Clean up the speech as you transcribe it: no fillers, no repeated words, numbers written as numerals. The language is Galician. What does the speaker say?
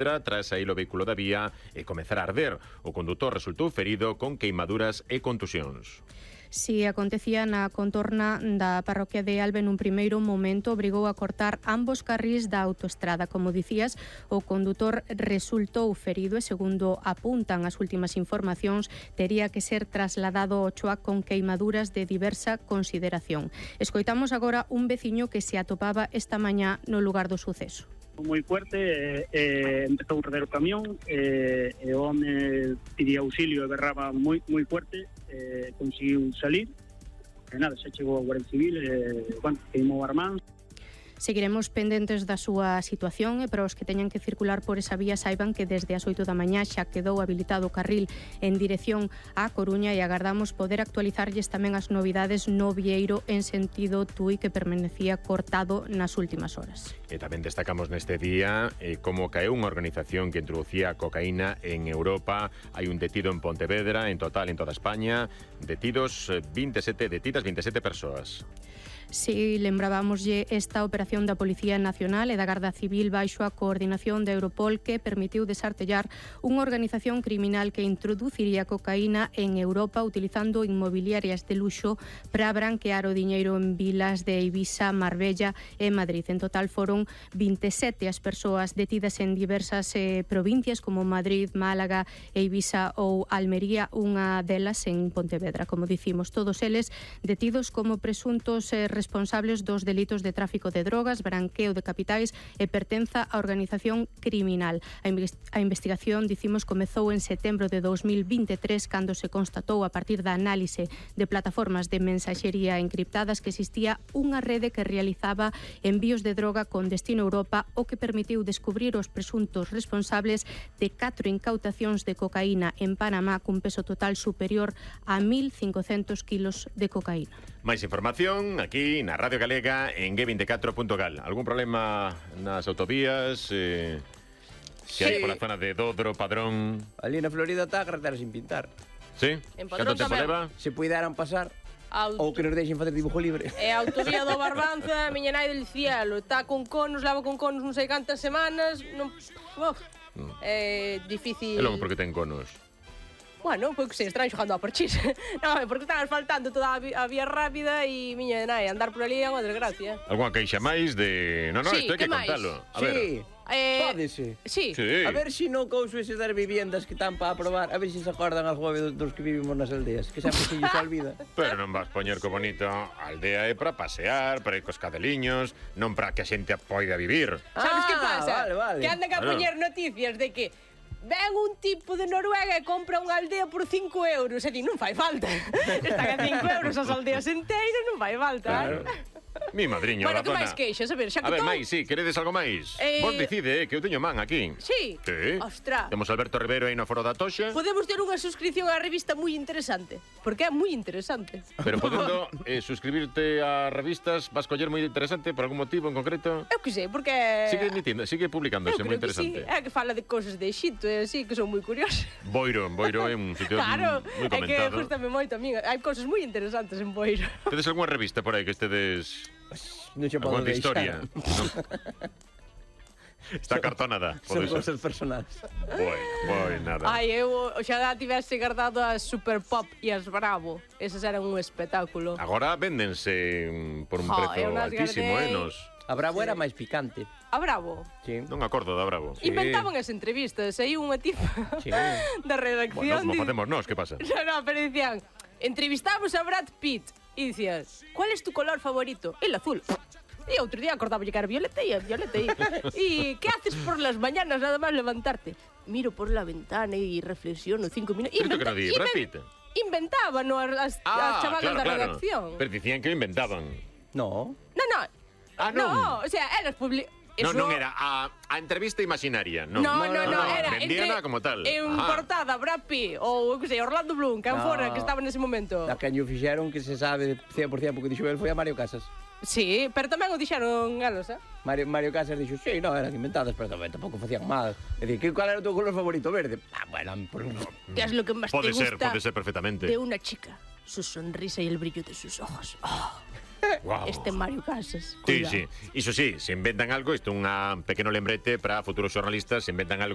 tras sair o vehículo da vía e comezar a arder. O condutor resultou ferido con queimaduras e contusións. Si acontecía na contorna da parroquia de Albe, nun primeiro momento obrigou a cortar ambos carrís da autoestrada. Como dicías, o condutor resultou ferido e, segundo apuntan as últimas informacións, tería que ser trasladado ao Choac con queimaduras de diversa consideración. Escoitamos agora un veciño que se atopaba esta mañá no lugar do suceso. Moi fuerte, empezou a arder o camión, e o home pedía auxilio e berraba moi fuerte, conseguiu salir, e nada, xa chegou a Guardia Civil, queimou armáns. Seguiremos pendentes da súa situación e para os que teñan que circular por esa vía saiban que desde as 8 da mañá xa quedou habilitado o carril en dirección á Coruña e agardamos poder actualizarlles tamén as novidades no Vieiro en sentido Tui, que permanecía cortado nas últimas horas. E tamén destacamos neste día como caeu unha organización que introducía cocaína en Europa. Hai un detido en Pontevedra, en total en toda España, detidas 27 persoas. Si lembrábamoslle esta operación da Policía Nacional e da Garda Civil baixo a coordinación da Europol, que permitiu desartellar unha organización criminal que introduciría cocaína en Europa utilizando inmobiliarias de luxo para branquear o diñeiro en vilas de Ibiza, Marbella e Madrid. En total foron 27 as persoas detidas en diversas provincias como Madrid, Málaga e Ibiza ou Almería, unha delas en Pontevedra. Como dicimos, todos eles detidos como presuntos responsables dos delitos de tráfico de drogas, branqueo de capitais e pertenza a organización criminal. A investigación, dicimos, comezou en setembro de 2023 cando se constatou a partir da análise de plataformas de mensaxería encriptadas que existía unha rede que realizaba envíos de droga con destino a Europa, o que permitiu descubrir os presuntos responsables de 4 incautacións de cocaína en Panamá cun peso total superior a 1.500 kilos de cocaína. Máis información aquí na Radio Galega en G24.gal. Algún problema nas autovías? Se hai pola zona de Dodro, Padrón? Ali na Florida está a carretera sin pintar. Sí? Padrón Canto tempo leva? Se puideran pasar ou que nos deixen facer dibujo libre. E a autovía do Barbanza, miña nai del cielo, está con conos, leva con conos non sei cantas semanas, non... É difícil. E logo porque ten conos? Bueno, pois que sei, estarán xogando a parchís. Non, porque están asfaltando toda a vía rápida e miña nai, andar por ali é unha desgracia. Alguna queixa máis de... Non, Sí, isto hai que que máis? contalo. A Sí, ver. pódese. Sí. Sí. A ver si non couso ese das viviendas que están para aprobar. A ver si se acordan algo dos que vivimos nas aldeas, que sempre se lles olvida. Pero non vas poñer co bonito. A aldea é para pasear, para ir cos cadeliños, non para que a xente poida vivir. Sabes que pasa? Vale. Que andan a Claro. poñer noticias de que ven un tipo de Noruega e compra unha aldea por 5 euros. E di, non fai falta. Están a 5 euros as aldeas enteiras, non fai falta. Claro. Mi madriño, Bueno, que Razona. máis queixas? A ver, xa A que ver, todo... máis, sí, queredes algo máis? Vos decide, que eu teño man aquí. Sí? Sí. Ostras. Temos Alberto Rivero aí no Foro da Toxa. Podemos ter unha suscripción á revista moi interesante. Porque é moi interesante. Pero podendo suscribirte a revistas, vas coller moi interesante por algún motivo en concreto. Eu que sei, porque... Sigue emitindo, sigue publicándose, eu moi creo que sí. interesante. É que fala de cousas de Egipto e así, que son moi curiosas. Boiro é un sitio Claro, moi é que comentado. gustame moito a mí. Hai cousas moi interesantes en Boiro. Tedes algunha revista por aí que estedes... Non se podo Alguna historia? deixar. No. Está cartonada. Son Pode ser. cousas personales. Bueno, nada. Ai, eu oxalá tivese guardado as Super Pop e as Bravo. Esas eran un espectáculo. Agora véndense por un prezo eu nas altísimo, guardei. nos... A Bravo era máis picante. A Bravo. Sí. Non acordo da Bravo. Inventaban as entrevistas. Aí unha tipa Sí. da redacción. Bueno, como facemos nós, que pasa? No, pero dicían, entrevistamos a Brad Pitt. E dicías, ¿cuál es tu color favorito? El azul. E outro día acordaba que era violeta e violeta. E ¿qué haces por las mañanas nada más levantarte? Miro por la ventana y reflexiono 5 minutos. Pero isto que non di, Brad Pitt. Inventaban as chamadas da redacción. Pero dicían que inventaban. No. No. Ah, non. No, o sea, eras Non era a entrevista imaginaria, non. No, era vendíana como tal. En portada, Brad Pitt ou, eu que sei, Orlando Bloom, que fora, que estaba nese momento. Da que o fixeron que se sabe 100% porque dixo el foi a Mario Casas. Sí, pero tamén o dixeron elos, Mario Casas dixo, sí, non, eran inventadas, pero tamén tampouco facían mal. É dicir, cal era o teu color favorito? Verde? Ah, bueno, ¿Qué es lo que más te gusta Pode ser perfectamente. de una chica? Su sonrisa y el brillo de sus ojos. Oh. Wow. Este Mario Casas. Sí, sí. Iso sí, se inventan algo, isto é un pequeno lembrete para futuros xornalistas, se inventan algo